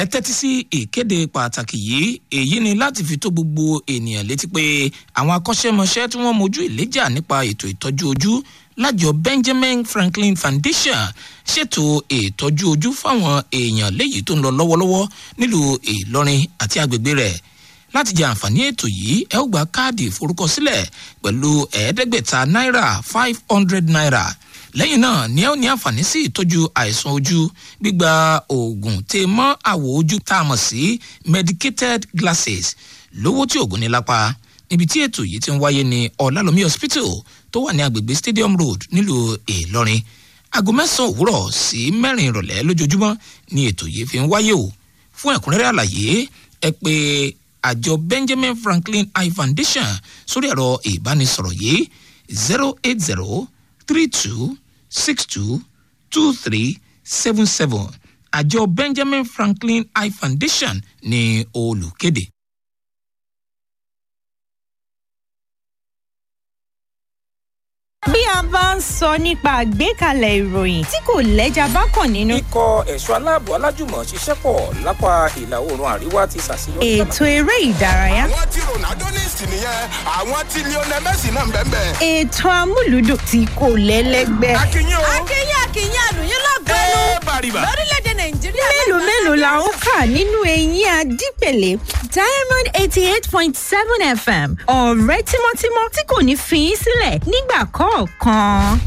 Ẹ tẹ́tí sí ìkéde pàtàkì yìí. Èyí ni láti fi tó gbogbo ènìyàn létí pé àwọn akọ́ṣẹ́mọṣẹ́ tí wọ́n mojú ìléjà nípa ètò ìtọ́jú ojú lájọ Benjamin Franklin Foundation ṣètò ìtọ́jú ojú fáwọn èèyàn léyìí tó ń lọ lọ́wọ́lọ́wọ́ nílùú Ìlọrin àti agbègbè rẹ̀. Láti jẹ àǹfààní ètò yìí, ẹ ó gba káàdì ìforúkọsílẹ̀ pẹ̀lú 500 náírà, ₦500. Lẹ́yìn náà ni ẹ ó ní àǹfààní sí ìtọ́jú àìsàn ojú, gbígba oògùn tè mọ́ àwọ̀ ojú tá a mọ̀ sí medicated glasses lówó tí oògùn ní lápá. Níbi tí ètò yìí ti ń wáyé ní Ọ̀làlómi Hospital tó wà ní agbègbè Stadium Road nílùú Ìlọrin. Aago 9 òwúrọ̀ sí 4 ìrọ̀lẹ́ lójoojúmọ́ ni ètò yìí fi ń wáyé o. Fún ẹ̀kúnrẹ́rẹ́ àlàyé, ẹ pè àjọ Benjamin Franklin Eye Foundation sórí ẹ̀rọ ìbánisọ̀rọ̀ yìí: 08032622377. Àjọ Benjamin Franklin Eye Foundation ní olùkéde. Bí a bá ń sọ nípa àgbékalẹ̀ ìròyìn tí kò lẹ́jà bá kàn nínú. Ikọ̀ ẹ̀ṣọ́ aláàbò alájùmọ̀ ṣiṣẹ́ pọ̀ lápá ìlà oòrùn àríwá ti ṣàṣeyọrí. Ètò eré ìdárayá. Àwọn tí Ronaldo ní ìsìn nìyẹn, àwọn tí Lionel Messi náà ń bẹ́ẹ̀ bẹ́ẹ̀. Ètò amúlùdùn tí kò lẹ́lẹ́gbẹ́. Akínyìn o. Akínyìn, akínyìn, àlùyìn lọ́gọ́nù Ẹ bàrìbà. lórílẹ̀‐èdè Nàìjíríà. Mélòó mélòó la ó kà nínú eyín adípèlé? Diamond 88.7 FM, ọ̀rẹ́ tímọ́tímọ́ tí kò ní fi í sílẹ̀ nígbà kọ̀ọ̀kan.